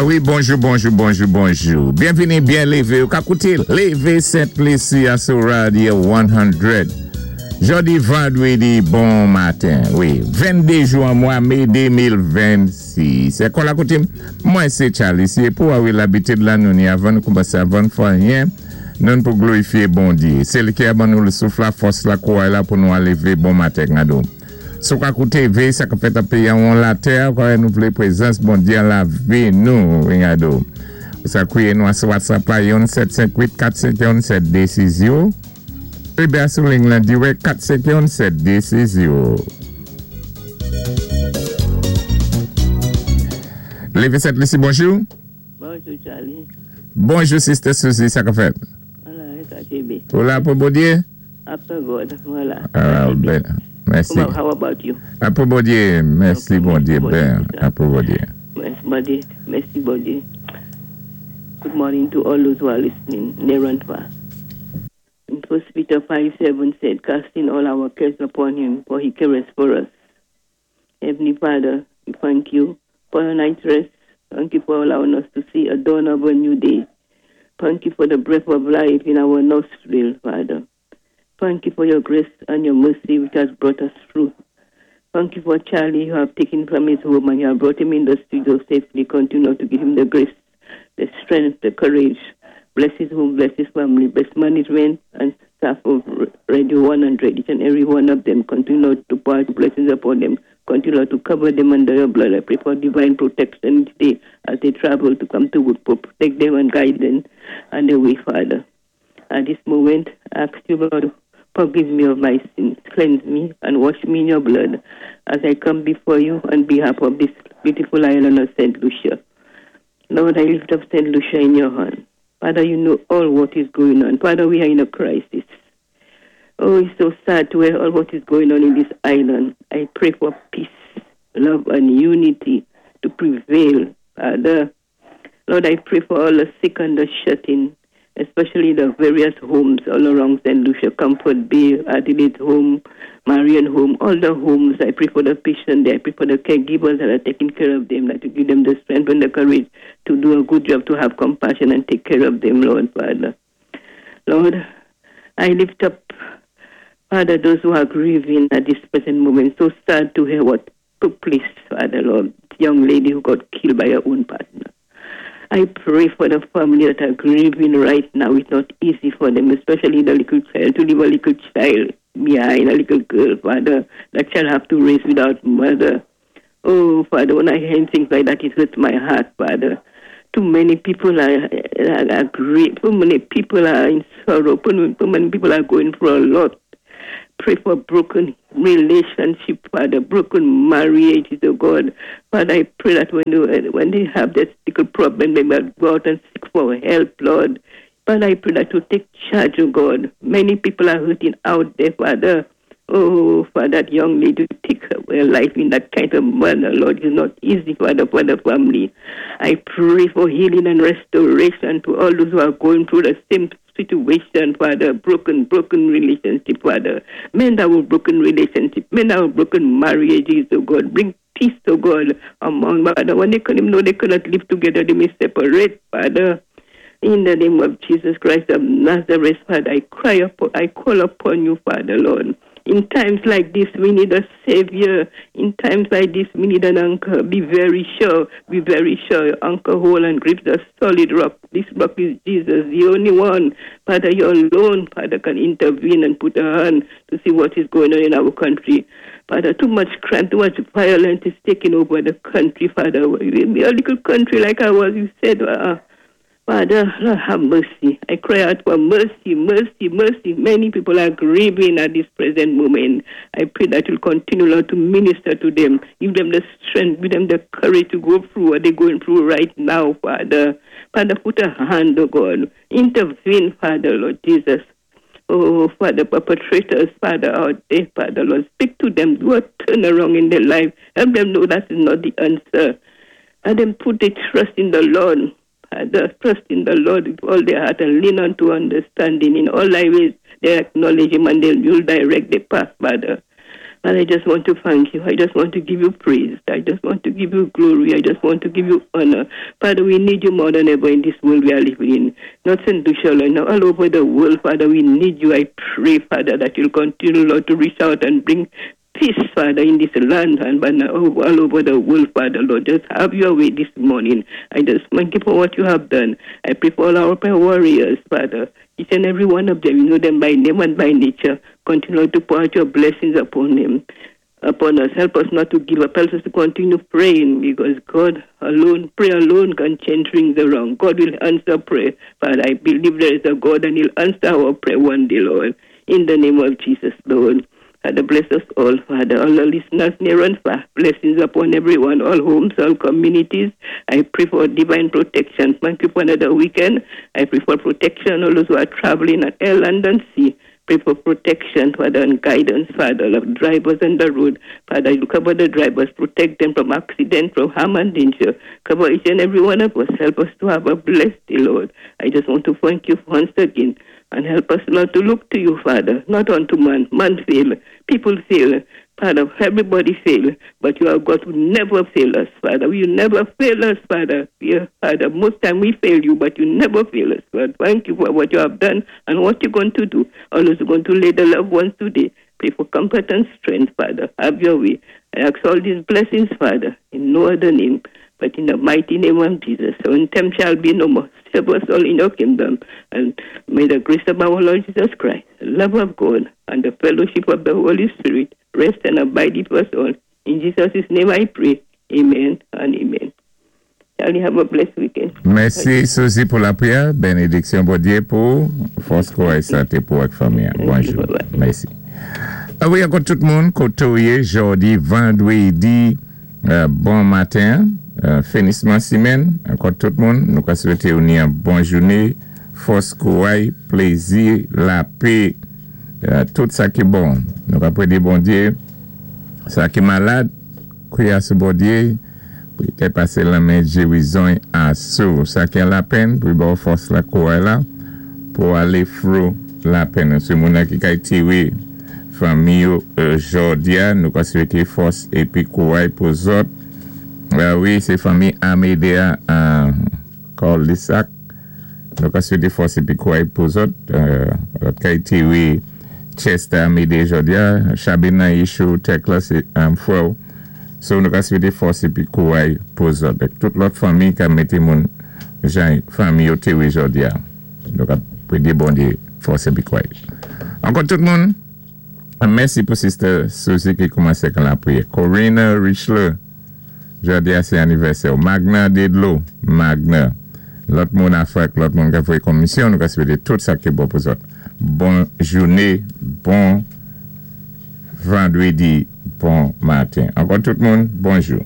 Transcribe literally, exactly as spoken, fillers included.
Ah wi, bonjou, bonjou, bonjou, bonjou. Byenvini, byen lévé. Ou ka kouté Lévé Sent-Lisi a sou Radio san. Jòdi vandwédi, bon maten. Wi, venndé jou an mwa mé de mil vennsis. É kon la koutim, mwen sé Charlie. Si pou a wi labitid la nou ni avan nou koumansé, avan fè anyen, nou pou glorifié Bondié. Sé li ki a ban nou le souf la, fòs la, kouway la pou nou a lévé bon maten gado. Sou ka kouté vé sa ka fèt an péyi an latè, kwa nou vlé pwézans Bondié an lavi nou, gado. Sa kwié nou a sou WhatsApp la youn sèt senk uit kat senk youn sèt dé sis zéwo. Ébyen sou ligne lan dirèk kat senk youn sèt dé sis zéwo. Lévé Sent-Lisi, bonjou. Bonjou, Charlie. Bonjou, Sister Suzy, sa ka fèt? Wala, sa kenbé. Ou la pou Bondié? After God, wala. Ah, ben, mèsi. How, how about you? A pou Bondié, mèsi. Ok, Bondié, mèsi ben, Bondié. A pou Bondié. Mèsi Bondié. Mèsi Bondié. Good morning to all those who are listening, near and far. In First Peter five seven said, "Casting all our cares upon him, for he careth for us." Heavenly Father, we thank you for your night rest. Thank you for allowing us to see a dawn of a new day. Thank you for the breath of life in our nostril, Father. Thank you for your grace and your mercy which has brought us through. Thank you for Charlie, you have taken from his home and you have brought him in the studio safely. Continue to give him the grace, the strength, the courage. Bless his home, bless his family, bless management and staff of Radio one hundred, each and every one of them. Continue to pour blessings upon them. Continue to cover them under your blood. I pray for divine protection each day as they travel to come to work. Protect them and guide them on the way, Father. At this moment, I ask you, Lord, forgive me of my sins, cleanse me and wash me in your blood as I come before you on behalf of this beautiful island of Saint Lucia. Lord, I lift up Saint Lucia in your hand. Father, you know all what is going on. Father, we are in a crisis. Oh, it's so sad to hear all what is going on in this island. I pray for peace, love, and unity to prevail, Father. Lord, I pray for all the sick and the shut in, especially the various homes all around Saint Lucia, Comfort Bay, Adelaide Home, Marion Home, all the homes. I pray for the patient there. I pray for the caregivers that are taking care of them, that to give them the strength and the courage to do a good job, to have compassion and take care of them, Lord, Father. Lord, I lift up, Father, those who are grieving at this present moment. So sad to hear what took place, Father, Lord. Young lady who got killed by her own partner. I pray for the family that are grieving right now. It's not easy for them, especially the little child, to leave a little child behind, a little girl, Father, that shall have to raise without mother. Oh, Father, when I hear things like that, it hurts my heart, Father. Too many people are, are, are grieving. Too many people are in sorrow. Too too many people are going through a lot. Pray for broken relationship, Father, broken marriages, oh God. Father, I pray that when they, when they have that little problem, they might go out and seek for help, Lord. Father, I pray that you take charge, oh God. Many people are hurting out there, Father. Oh, for that young lady to take her life in that kind of manner, Lord, is not easy, Father, for the family. I pray for healing and restoration to all those who are going through the same situation, Father, broken, broken relationship, Father. Men that have broken relationship, men that have broken marriages, oh God. Bring peace, oh God, among, Father. When they couldn't know they cannot live together, they may separate, Father. In the name of Jesus Christ of Nazareth, Father, I cry upon, I call upon you, Father, Lord. In times like this, we need a savior. In times like this, we need an anchor. Be very sure, be very sure. Your anchor hold and grip the solid rock. This rock is Jesus, the only one. Father, you alone, Father, can intervene and put a hand to see what is going on in our country. Father, too much crime, too much violence is taking over the country, Father. We are a little country like ours, you said. Uh, Father, Lord, have mercy. I cry out for mercy, mercy, mercy. Many people are grieving at this present moment. I pray that you'll continue, Lord, to minister to them. Give them the strength, give them the courage to go through what they're going through right now, Father. Father, put a hand, oh God. Intervene, Father, Lord Jesus. Oh, Father, perpetrators, Father, out there, Father, Lord, speak to them. Do a turnaround in their life. Help them know that is not the answer. And then put their trust in the Lord. Father, trust in the Lord with all their heart and lean unto understanding. In all thy ways, they acknowledge him and they'll, you'll direct the path, Father. And I just want to thank you. I just want to give you praise. I just want to give you glory. I just want to give you honor. Father, we need you more than ever in this world we are living in. Not in Lucia, now all over the world, Father, we need you. I pray, Father, that you'll continue, Lord, to reach out and bring peace, Father, in this land and all over the world, Father, Lord. Just have your way this morning. I just thank you for what you have done. I pray for all our prayer warriors, Father. Each and every one of them, you know them by name and by nature. Continue to pour out your blessings upon them, upon us. Help us not to give up. Help us to continue praying because God alone, prayer alone can change things around. God will answer prayer. Father, I believe there is a God and He'll answer our prayer one day, Lord. In the name of Jesus, Lord. Father, bless us all, Father, all the listeners near and far. Blessings upon everyone, all homes, all communities. I pray for divine protection. Thank you for another weekend. I pray for protection, all those who are traveling at air, land, and sea. Pray for protection, Father, and guidance, Father, of drivers on the road. Father, you cover the drivers, protect them from accident, from harm and danger. Cover each and every one of us. Help us to have a blessed day, Lord. I just want to thank you once again. And help us, Lord, to look to you, Father, not unto man. Man fail, people fail. Father, everybody fail, but you are God who never fail us, Father. You never fail us, Father. Yeah, Father, most time we fail you, but you never fail us, Lord. Thank you for what you have done and what you're going to do. All those who are going to lay the loved ones today. Pray for comfort and strength, Father. Have your way. I ask all these blessings, Father, in no other name, but in the mighty name of Jesus. So in time shall be no more. Serve us all in your kingdom. And may the grace of our Lord Jesus Christ, the love of God, and the fellowship of the Holy Spirit rest and abide with us all. In Jesus' name I pray. Amen and amen. Charlie, have a blessed weekend. Mèsi, Suzy, pou lapriyè. Bénédiksyon, Bondyé, pou fòs, kouray, santé pou ak fanmi. Bonjou. Mèsi. Ah wi, ankò tout moun, koté ou yé, jòdi, vandwédi, euh, bon maten, euh, finisman simèn, ankò tout moun, nou ka swété ou ni yon bon jouné, fòs, kouray, plézi, lapè, euh, tout sa ki bon. Nou ka pwédé Bondyé, sa ki malad, kwiyé sou Bondyé, pou i té pasé lanmen géwizon asou. Sa ki an lapenn, pou i ba ou fòs la kouray la, pou alé through lapenn. Sé moun ki kay téwé fanmi yo euh, jòdi-a, nou ka swété fòs épi kouray pou zòt. Euh, wi, sé fanmi Amédéa an Kòlisak. Nou ka swété fòs épi kouray pou zòt. Euh, zòt kay téwé Chester Amédée jòdi-a, Chabina Yishou, Tekla, sé um, frè. So nou ka swété fòs épi kouray pou zòt. Ek tout lòt fanmi ka mété moun jan fanmi yo téwé jòdi-a. Nou ka pwédé Bondyé fòs épi kouray. Ankò tout moun, mèsi pou Sister Suzy ki koumansé kan lapriyè. Corina Richler, jòdi-a sé anivèsè. Magna Dedlo, Magna. Lòt moun Afrik, lòt moun ka voyé komisyon, nou ka swété tout sa ki bon pou zòt. Bon jouné, bon vandwédi, bon maten. Ankò tout moun, bonjou.